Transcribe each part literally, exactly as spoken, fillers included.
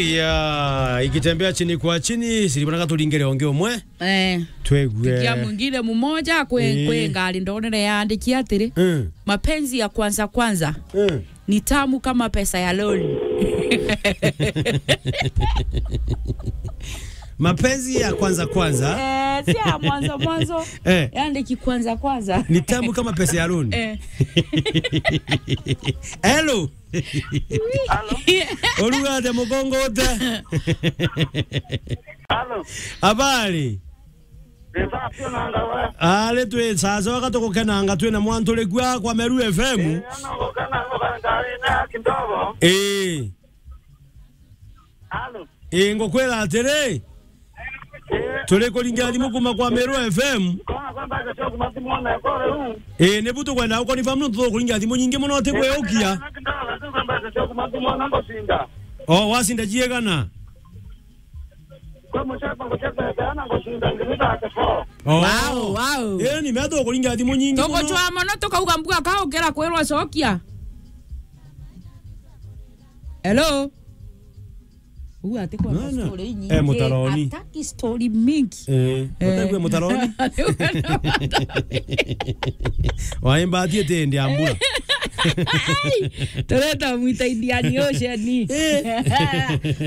Ya, ikitembea chini kwa chini, siribonaga turingire onge umwe. Eh. Twegue. Kia mwingine mmoja kwe, Eh. kwe ngari ndonere yaandiki atiri, Mm. "Mapenzi ya kwanza kwanza Mm. ni tamu kama pesa ya loan." Mapenzi ya kwanza kwanza. Eh, si ya mwanzo mwanzo. Eh. Yaandiki kwanza kwanza. Ni tamu kama pesa ya loan. Eh. Hello. Halo. Oruga atia mugongo ute? Halo. Habari? Ni safi na ndawa. Ari twi sasa waka tugukenanga twina mwantu ri kwa kwa Meru F M. Eh, ana gukena ngari na kidogo. Eh. Halo. Ii, ngukwira atiri, turi kuringira thimu kuma kwa Meru F M. Kona kwamba acha sio kuma thimu ona ekore huu. Ii, nibu tukwenda ukonifirm nontu tukuringira thimu nyingi muno, ti kwiukia. Kwamba acha sio kuma thimu ona ngoshinda. O, wasinda ciigana? Kwa muchapa kuchapa sana ngoshinda ngiri thirty-four. O. Wow, wow. Ii, ni meto kuringira thimu nyingi muno. Tugucwa muno, tukauga mbuga kaukira kwirwa cokia. Hello? Uu ati kwa Mwana. story nyingi. Eh, mutaroni. Ataki story mingi. Eh, Eh. Utagwe mutaroni. Waimba ati ete ndi ambura. Ai, tureta mwita Indian Ocean. Eh.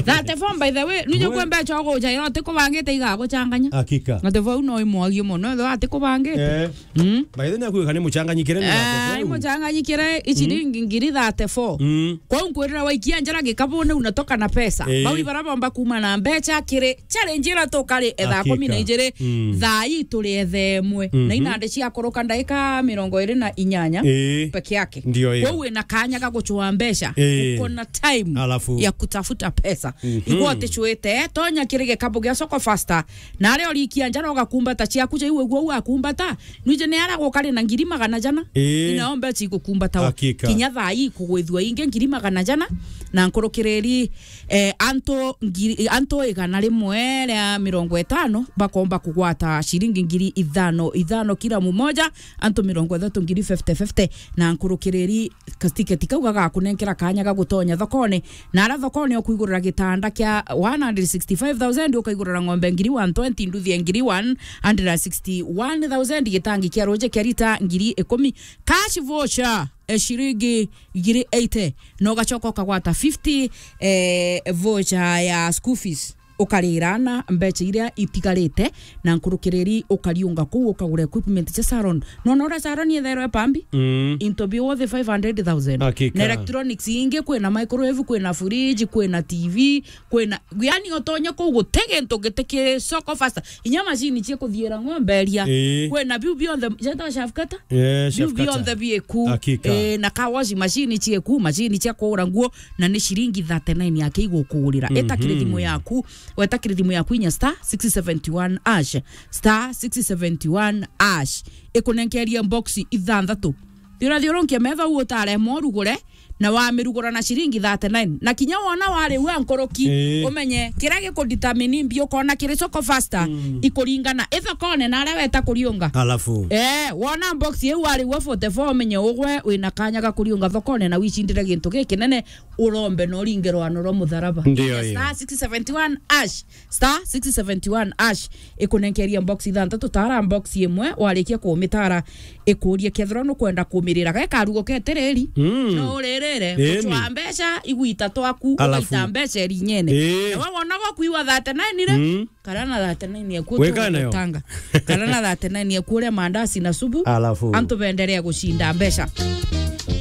Thirty-four, by the way, nuje Mwe- kwembe chogo uja, ino ati kubangite igaguchanganya. Hakika. Thirty-four no imwagio muno, ino ati kubangite. Eh. Mm. By the way, nakuga ni muchanganyikire ni Ah, thirty-four. Imuchanganyikire, ichiringi Mm. ngiri thirty-four. Mm. Kwou nkwirira waikia njara gikabune unatoka na pesa. Eh. Bau ibara bomba kuma na mbecha kiri challenge ira tukari etha Hakika. kumi na ijiri. Mm. Thaa ii turi etha imwe. Mhm. Na inande ciakuruka ndaika mirongo iri na inyanya Eh. peke yake. Ndio hiyo. Kwou wina kanya ga guchwa mbecha. Eh. Uko na time Alafu. ya kutafuta pesa. Mhm. Igwa utichwite, tonya kiri gikabu gia Soko Faster. Na aria urikia njara ugakumbata ciaku ja iwe guo ugakumbata. Nwije ni ara gukari na ngiri magana jana. Ii. Inao mbecha igukumbata o. Hakika. Kinya thaa ii kugwithua ingi ngiri magana jana. Na nkurukiriri, eh, antu ngiri, antu igana rimwe ria mirongo itano bakomba kugwata ciringi ngiri ithano, ithano kila mumoja, antu mirongo ithatu ngiri fifty fifty, na nkurukiriri ka ticket kau gagakunenkera kanya ga gutonya thokone. Na ara thokone ukwigurira gitanda kia one hundred sixty-five thousand, ukaigurira ng'ombe ngiri one twenty, nduthi ya ngiri one hundred sixty-one thousand, gitangi kia ruji kia rita ngiri ikumi, cash voucher, eh, ciringi ngiri eighty, na ugacoka ukagwata fifty, eh, voucher ya school fees. Ukarira na mbecha iria itigarite, na nkurukiriri ukariunga kuu ukagura equipment cia salon. Nona uria salon yethairwe pambi? Mm. Into be worth five hundred thousand. Hakika. Na electronics ingi, kwina microwave, kwina fridge, kwina T V, kwina, yani utonye kuu guti gintu giti ki Soko Faster. Inya machine cia kuthiira ng'ombe iria. Ii. Kwina biu bionthe, jeta shafkata? Eh, biu shafkata. Bionthe bieku. Hakika. Eh, na car wash machine cieku, machine cia kuura nguo, na ni ciringi thirty-nine yake igukugurira. Eta kiri thimu Mhm. yaku, weta kiri thimu yaku inya star six seventy-one hash, star six seventy-one hash. Ikunenkeria box ithanthatu. Thiura thiurunkia metha u utaremwa urugure, na wamirugura na ciringi thirty-nine. Na kinya wona wari ua nkuruki, Ii. umenye kiria gikudetermine mbi ukona kiri Soko Faster, Mm. ikuringana ithokone na aria weta kuriunga. Alafu. Eh, wona box iu wari ua forty-four, umenye ugwe wina kanya ga kuriunga thokone na wicindire gintu gikinene. Urombe na uringe rwano rwa mutharaba. Ndio hiyo. Star six seventy-one hash, star six seventy-one hash, ikunenkeria box ithanthatu, tara box imwe, warikia kumitara, ikurie kethirwa nukwenda kumirira. Ge karugo ketiriri, Mm. no uririre, Ĩni. gucwa mbeca, igwita twaku, Alafu. ugaita mbeca irinyene. Ĩĩ. Na we wonaga kuiwa thirty-nine ri? Mm. Kara na thirty-nine yaku Wekana nayo. Tanga. Kara na thirty-nine yaku uria mandasi na subu. Alafu. Antu benderea gucinda mbeca.